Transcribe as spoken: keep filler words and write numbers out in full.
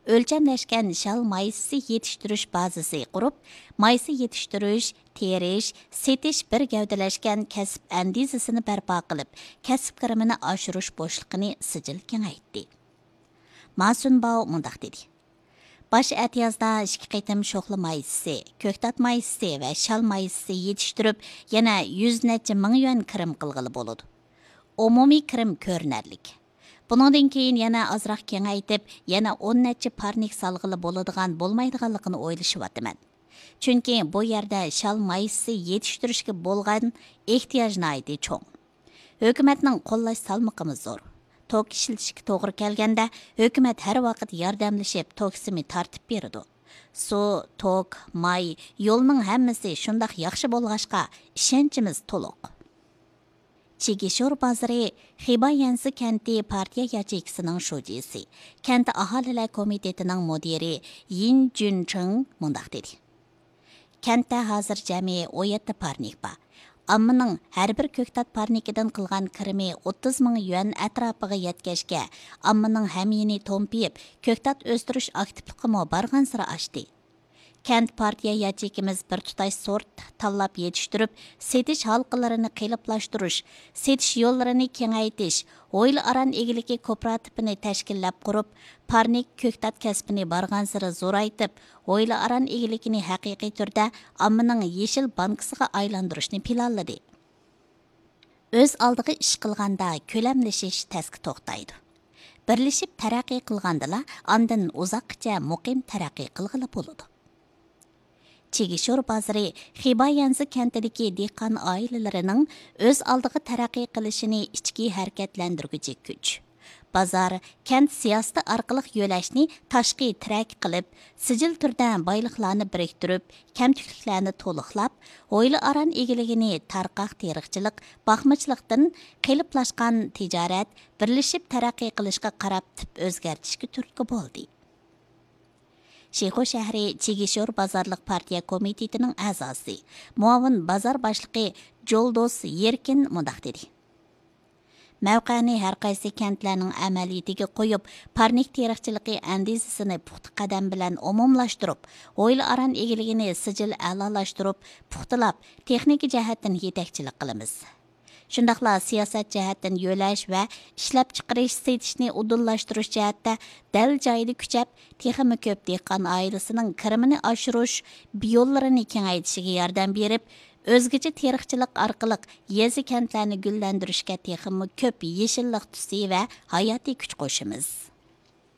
ئۆلچەملەشكەن شال مايسىسى يېتىشتۈرۈش بازىسى قۇرۇپ، مايسا يېتىشتۈرۈش، تېرىش، سېتىش بىر گەۋدىلەشكەن كەسىپ ئەندىزىسىنى بەرپا قىلىپ، كەسىپ كىرىمىنى ئاشۇرۇش بوشلۇقىنى سىجىل كېڭەيتتى. ما سۈنباۋ مۇنداق دېدى: باش ئەتىيازدا ئىككى قېتىم شوخلا مايسىسى، كۆكتات مايسىسى ۋە شال مايسىسى يېتىشتۈرۈپ، يەنە يۈز نەچچە مىڭ يۈەن كىرىم قىلغىلى بولىدۇ. ئومۇمىي كىرىم كۆرۈنەرلىك. بۇنىڭدىن كېيىن يەنە ئازراق كېڭەيتىپ، يەنە ئون نەچچە پارنىك سالغىلى بولىدىغان بولمايدىغانلىقىنى ئويلىشىۋاتىمەن. چۈنكى بۇ يەردە شال مايسىسى يېتىشتۈرۈشكە بولغان ئېھتىياج ناھايىتى چوڭ. ھۆكۈمەتنىڭ قوللاش سالمىقىمۇ زور. توك ئىشلىتىشكە توغرا كەلگەندە، ھۆكۈمەت ھەر ۋاقىت ياردەملىشىپ، توك سىمى تارتىپ بېرىدۇ. سۇ، توك، ماي، يولنىڭ ھەممىسى شۇنداق ياخشى بولغاچقا، ئىشەنچىمىز تولۇق. چىگىشور بازىرى خىبايەنسى كەنتى پارتىيە ياچېيكىسىنىڭ شۇجىسى، كەنت ئاھالىلەر كومىتېتىنىڭ مۇدىرى يىن جۈنچىڭ مۇنداق دېدى: كەنتتە ھازىر جەمئىي ئون يەتتە پارنىك بار. ئاممىنىڭ ھەر بىر كۆكتات پارنىكىدىن قىلغان كىرىمى ئوتتۇز مىڭ يۈەن ئەتراپىغا يەتكەچكە، ئاممىنىڭ ھەميانى تومپىيىپ، كۆكتات ئۆستۈرۈش ئاكتىپلىقىمۇ بارغانسېرى ئاشتى. كەنت پارتىيە ياچېيكىمىز بىر تۇتاش سورت تاللاپ يېتىشتۈرۈپ، سېتىش ھالقىلىرىنى قېلىپلاشتۇرۇش، سېتىش يوللىرىنى كېڭەيتىش، ھويلا ئاران ئىگىلىكى كوپىراتىپىنى تەشكىللەپ قۇرۇپ، پارنىك كۆكتات كەسپىنى بارغانسېرى زورايتىپ، ھويلا ئاران ئىگىلىكىنى ھەقىقىي تۈردە ئاممىنىڭ يېشىل بانكىسىغا ئايلاندۇرۇشنى پىلانلىدى. ئۆز ئالدىغا ئىش قىلغاندا كۆلەملىشىش تەسكە توختايدۇ. بىرلىشىپ تەرەققىي قىلغاندىلا ئاندىن ئۇزاققىچە مۇقىم تەرەققىي قىلغىلى بولىدۇ. چىگىشور بازىرى خىبايەنزى كەنتىدىكى دېھقان ئائىلىلىرىنىڭ ئۆز ئالدىغا تەرەققىي قىلىشىنى ئىچكى ھەرىكەتلەندۈرگۈچى كۈچ. بازار، كەنت سىياسىتى ئارقىلىق يۆلەشنى تاشقى تىرەك قىلىپ، سىجىل تۈردە بايلىقلارنى بىرىكتۈرۈپ، كەمتۈكلۈكلەرنى تولۇقلاپ، ھويلا ئاران ئىگىلىكىنى تارقاق تېرىقچىلىق، باقمىچىلىقتىن قېلىپلاشقان تىجارەت، بىرلىشىپ تەرەققىي قىلىشقا قاراپ تىپ ئۆزگەرتىشكە تۈرتكە بولدى. شىخۇ شەھىرى چىگىشور بازارلىق پارتىيە كومىتېتىنىڭ ئەزاسى، مۇئاۋىن بازار باشلىقى جولدوس يېركىن مۇنداق دېدى: مەۋقەنى ھەر قايسى كەنتلەرنىڭ ئەمەلىيىتىگە قويۇپ، پارنىك تېرىقچىلىقى ئەندىزىسىنى پۇختا قەدەم بىلەن ئومۇملاشتۇرۇپ، ھويلا ئاران ئىگىلىكىنى سىجىل ئەلالاشتۇرۇپ، پۇختىلاپ، تېخنىكا جەھەتتىن يېتەكچىلىك قىلىمىز. شۇنداقلا سىياسەت جەھەتتىن يۆلەش ۋە ئىشلەپچىقىرىش، سېتىشنى ئۇدۇللاشتۇرۇش جەھەتتە دەل جايىدا كۈچەپ، تېخىمۇ كۆپ دېھقان ئائىلىسىنىڭ كىرىمىنى ئاشۇرۇش يوللىرىنى كېڭەيتىشىگە ياردەم بېرىپ، ئۆزگىچە تېرىقچىلىق ئارقىلىق يېزا، كەنتلەرنى گۈللەندۈرۈشكە تېخىمۇ كۆپ يېشىللىق تۈسى ۋە ھاياتىي كۈچ قوشىمىز.